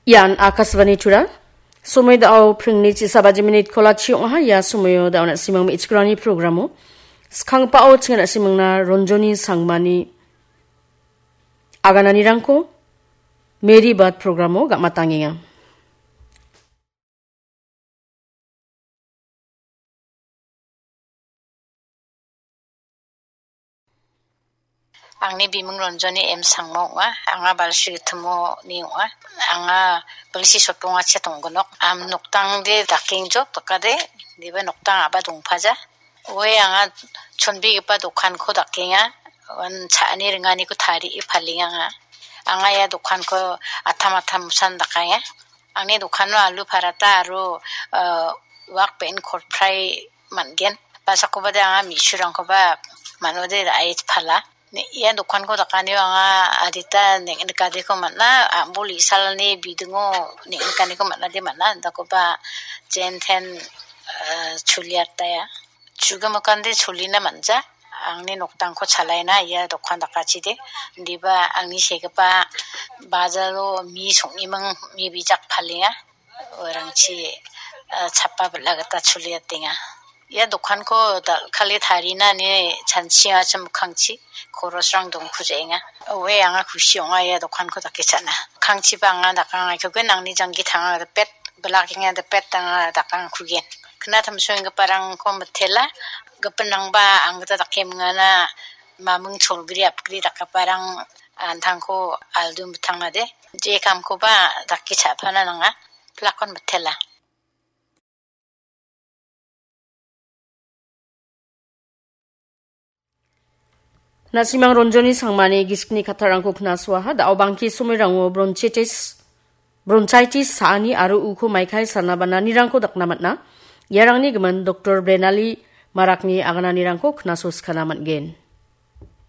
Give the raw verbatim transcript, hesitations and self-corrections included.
Ian Akashvani Tura. Somoi dao pringni chisa baji minit kolachi ong·aha. Ia somoio dao na·simang me·chikrani programo. Skangbao chinga na·simangna Ronjoni Sangmani agananirangko Mary Bad programo gam·atangenga. Angni biming Ronjoni M Sangma ong·a. Anga Balsri Gittimoni ong·a. Anga Balsri Sotbonga chet ong·ginok. Am noktangde dakengjok dakade, diba noktang a·ba dongpaja. Oe anga chonbegipa dokanko dakenga. Uan cha·ani ringaniko tarie palenga anga. Anga ia dokanko atam atam san dakenga. Angni dokano alu parata aro, eh, wak be·en kol fry man·gen. Ba sakobade anga me·surangkoba manode ra·e pala. Ne, ia dokanko dakanio anga adita neng·, nikadeko man·a, a·bol isalni bidingo neng·, nikaniko man·ade man·a. Dakoba jen ten, eh, choliataia. Chugamokande cholina man·ja. Angni noktangko chalaina ia dokan dakachide. Indiba angni segipa bajalo mi song·iming mi bijak palenga. Uarangchi, eh, chapa bela gita choliatenga. Ia dokanko dal·kale tarina ine chanchiachim mikkangchi korosrang dongkujaenga. Oe anga kusi ong·a ia dokanko dake cha·na. Mikkangchiba anga dakang aikogen angni janggi tanga dipet, belakenga dipet anga dakang kugen. Kna tamsoenggiparangko mitela, gipinrangba anggita dake mingana maming cholgri apgri dakgiparang antangko aldu mitangade. Je kamkoba dake cha·pana nanga. Plakon mitela. Na·simang Ronjoni Sangmani gisikni kattarangko knasoaha, da·o bangke somoirango bronchitis, bronchitis sa·ani aro uko maikai sana bananirangko dakna man·a. Iarangni gimin Doktor Brenali Marakni agananirangko knaso sikana man·gen.